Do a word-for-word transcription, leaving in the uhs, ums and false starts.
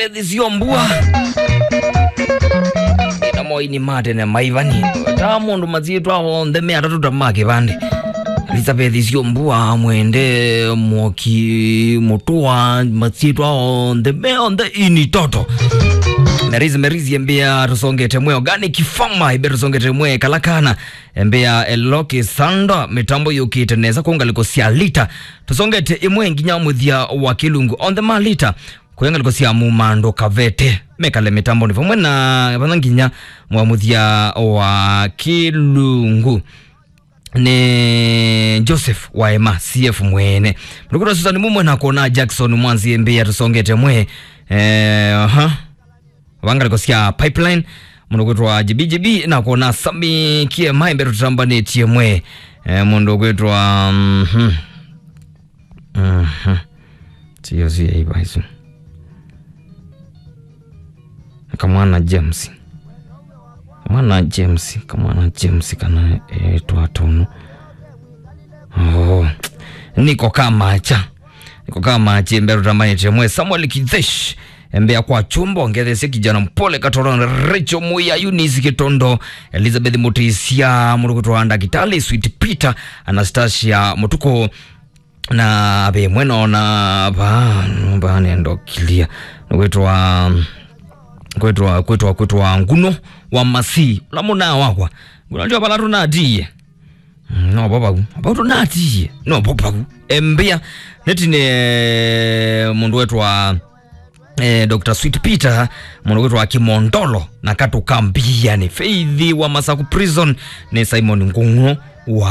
Elizabeth Syombua. Na moini ma tene maivani. Ta mũndũ masyĩtwa onthe me atatũ ta ma kĩvandĩ. Elizabeth Syombua, Mwende, Mwoki, Mũtũa, masyĩtwa onthe me onthe ini toto. Merizi, Merizi embĩa tũsongete mwe organic farmer, embĩa tũsongete mwe kalakana. Embĩa Eloki Sanda, mĩtambo yũkĩte nesa kũngaliko sya lita. Tũsongete ĩmwe nginya mũthya wa kĩlungu. Onthe ma lita. Kũya ngalĩko sya Mumando Kavete, mekale mĩtambonĩ vamwe na vana nginya mwa mũthya wa kĩlungu nĩ Joseph Waema, C F mwene. Mũndũ kwĩtwa Susan Mumwe na kuona Jackson Mwanzi Mbĩa tũsongete mwe. Eh, aha. Vangalĩko sya Pipeline, mũndũ kwĩtwa J B J B na kuona Sami Kiema Mbĩa tũtambanĩtie mwe. Eh, mũndũ kwĩtwa, mhm. Mhm. Sio, sio, hivyo, hizo. Kamwana James. Kamwana James, kamwana James kana, eh, twatono. Oh. Niko kama cha. Niko kama cha, Mbĩa tũtambanĩtie mwe. Samuel Kithesh. Mbĩa kwa chumbo, ngethesie kijana mpole katoro, Rachel Muya, Eunice Kitondo, Elizabeth Mutisia, mũndũ kwĩtwa Ndakitali, Sweet Peter, Anastasia Mutuku, na ve mwena ona va, va nendo kilia. Nĩ kwĩtwa, kwĩtwa, kwĩtwa, kwĩtwa Nguno wa Masi. Ũla mũna wakwa. Nguno ndio vala tũnatiie. Mm, no vo vau. Vau tũnatiie. No vo vau. Embĩa. Nĩtine mũndũ wetwa, eh, Doctor Sweet Peter, mũndũ wetwa Kimondolo, na katũka mbianĩ. Faith wa Masaku Prison, nĩ Simon Nguno wa